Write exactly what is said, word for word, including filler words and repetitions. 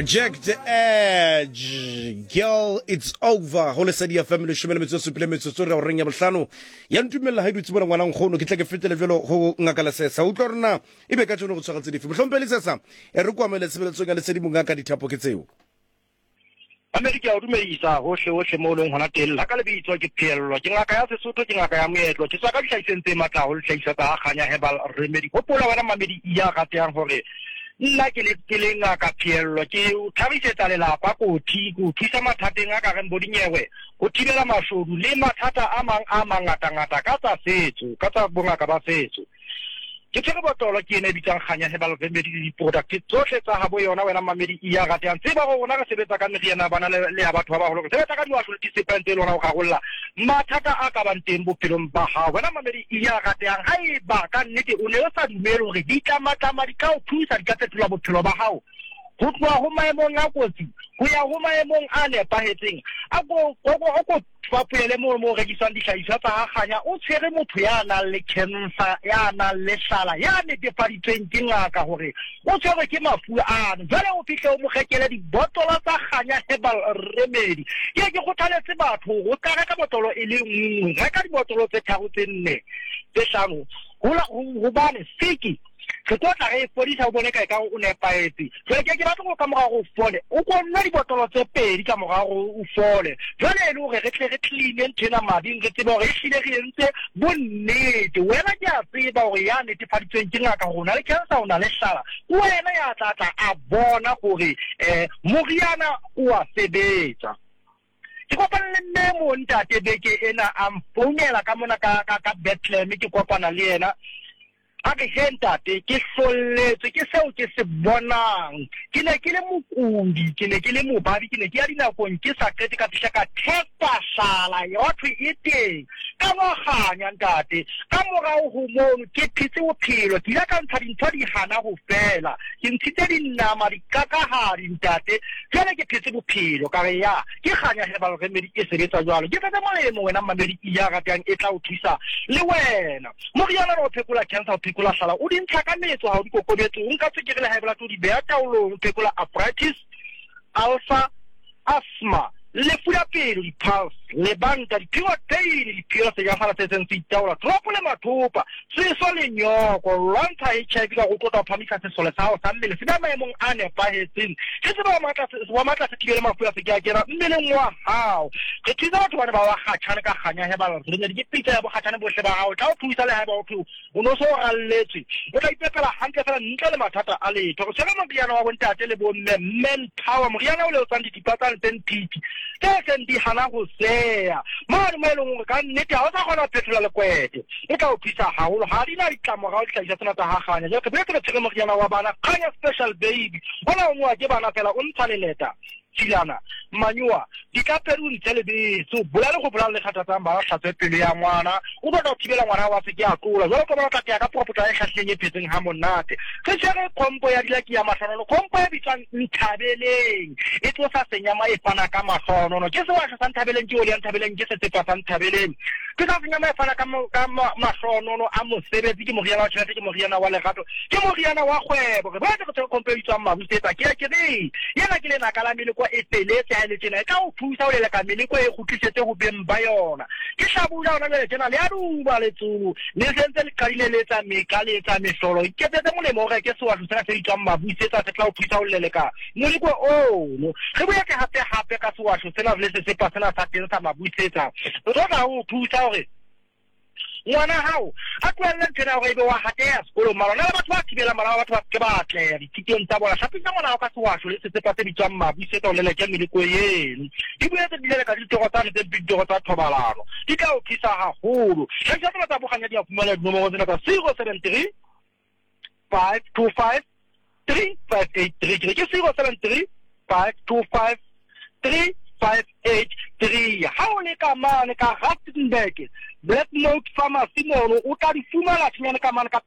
Jack the Edge, girl, it's over. Go Lesedi F M, leshome le metsotso supile metsotso re goreng ya bohlano ya ntumella ga e dutse bona ngwana nkgono. Ke tla ke fetele jalo go Ngaka Lesesa, utlwa rona e be ka tsone go tshwagatse dife motlhompe Lesesa e re kwamele tshebeletsong ya Lesedi. Mongaka, dithapo ke tseo. Mamedi, ke a o dumedisa hohle hohle mo o leng hona teng. La ka lebitso ke Pheello, ke ngaka ya Sesotho, ke ngaka ya moetlo, ke tswa ka dihlahiseng tse matla haholo, dihlahiswa tsa Kganya Herbal Remedy. Hopola wena mamedi ya ratehang hore nna ke le ke le Ngaka Pheello, ke o thabisetsa lelapa kotsi, ke o thusa mathateng a ka reng bo dinyewe, ho thibela mashodu le mathata a mang a mangatangata ka tsa setso, ka tsa bongaka ba setso. Ke tshwere botlolo ke ena e bitswang Kganya Herbal Remedy le di-product tsohle tsa habo yona. Wena mamedi ya ratehang, tseba gore rona re sebetsa ka meriana ya bana le le ya batho ba baholo, re sebetsa ka diwasho le disepang tse le hona ho rarolla mathata a ka bang teng bophelong ba hao. Wena mamedi ya ratehang, ha eba ka nnete o ne o sa dumele hore ditlamatlama di ka o thusa, di ka fetola bophelo ba hao ho tloha ho maemong a kotsi ho ya ho maemong a nepahetseng, a ko ko ko fapoele moo mo rekiswang dihlahiswa tsa ha Kganya. O tshwere motho ya nang le cancer, ya nang le hlala, ya netefaditsweng ke ngaka hore o tshwerwe ke mafu ano, jwale o fihle o mo rekele dibotlolo tsa Kganya Herbal Remedy. Ke ke kgothaletse batho hore o ka reka botlolo e le nngwe, reka dibotlolo tse tharo, tse nne, tse hlano, hobane siki re tlo tla re e fodisa o bone ka e ka o nepahetse. Jwale ke ke batla gore ka mora gore o fole, o ko nwa dibotlolo tse pedi ka mora gore o fole, jwale e le hore re tle re cleane ntho ena mading, re tsebe hore ehlile re entse bonnete. Wena ke a tseba hore ya netefaditsweng ke ngaka gore o na le cancer, o na le hlala, wena ya tla tla a bona gore um moriana o a sebetsa. Ke kopane le mme mo ntate beke ena, a mfounela ka mona ka ka ka Bethlehem. Ke kopana le yena, a re, "He ntate, ke hlolletswe ke seo ke se bonang. Ke ne ke le mokudi, ke ne ke le mobabi, ke ne ke ya dinakong ke sa qete, ka fihla ka testa hlala ya thwe e teng, ka ngwaganya ntate. Ka morao ho mono ke phetse bophelo, ke ile ka ntsha dintho di hana ho fela, ke ntshitse dinama dikakahadi ntate, jwale ke phetse bophelo." Ka re, "Ya ke Kganya Herbal Remedy e sebetsa jwalo." Ke tletse molemo wena mamedi ya ratang, e tla o thusa le wena. Moriana o phekola cancer, o phekola hlala, o di ntsha ka metso, ha o di kokobetse, o nka tswekere le high blood, o di beha taolong, o phekola arthritis, ulcer, asthma, lefu la pelo, di-pulse, lebanta, di-period pain, diphiro, sejafala se seng se itaola, tropo le mathopa, seso le nyoko, lwantsha H I V ka go tlotla, o phamisa sesole sa gago sa mmele se ba maemong a nepahetseng, se se ba wa matla, se thibele mafu a se ke a kena mmeleng wa gago. Re thusa batho bane ba ba kgatšhane ka Kganya Herbal Remedy, ke pitsa ya bokgatšhane bohle ba gago, tla o thusa le haeba o thwe o no so o ralletswe, o tla ipepela hantle fela ntle le mathata a letho. Re tshwere moriana wa bontate le bomme, Man Power, moriana o le otsang dithipa tsane tse nthithi tse seng di hana ho seya mane mo e leng hore ka nnete ha o sa kgona ho phethola lekwete, e tla o thusa haholo. Ha di na ditlamorao dihlahiswa tsena tsa ha Kganya. Jwale re boetse re tshwere moriana wa bana, Kganya Special Baby. Ona o nowa ke bana fela, o ntsha leleta, tshilana, manyowa, ditlapedi, o ntshe lebese, o bolale go bolala le kgathatsang bana, hlatswe pelo ya ngwana, o batla ho thibela ngwana wa se ke a tlola. Jwalo ka bona o tla teya ka poropotla e hlahlileng, e phetseng ha monate. Re tshwere khompo ya dilaki ya mahlonono, khompo e bitswang Nthabeleng, e tlosa senyama, e fana ka mahlonono. Ke sewasho sa Nthabeleng, ke oli ya Nthabeleng, ke setsepa sa Nthabeleng, ke sa senyama, e fana ka ka mahlonono a mosebetsi. Ke moriana wa tjhelete, ke moriana wa lerato, ke moriana wa kgwebo. Re boetse re tshwere khompo e bitswang Mabusetsa. Ke ya ke re yena ke lenaka la meleko e feletse ha e le tjena, e tla o thusa ho leleka meleko, e kgutlisetse ho beng ba yona. Ke hlabula hona jwale tjena, le a duba letsolo le sentse le qadile le etsa meka, le etsa mehlolo. Iketsetse molemo, o reke sewasho sena se bitswang Mabusetsa, se tla o thusa ho leleka moleko ono. Re boetse hape hape ka sewasho sena le sesepa sena sa teng sa Mabusetsa, re tlo tla ho thusa hore ngwana hao a tlohelle ntho ena hore ebe wa hateha sekolong. Mara na le batho ba thibelang bana ba batho ba seke ba atleha dithutong tsa bona. Hlapisa ngwana hao ka sewasho le sesepa se bitswang Mabusetsa, o leleke meleko eno. Di boetse di leleka ditoro tsane tse mpe, ditoro tsa thobalano, di tla o thusa haholo. Tlhahiso tsena tsa bokganya di a fumana dinomoro tsena tsa zero seven three five two five three five eight three. Ke re ke zero seven three five two five three five eight three. Ha o le ka mane ka Rustenburg, Black Note Pharmacy mono o tla di fumana thinyane ka mane ka.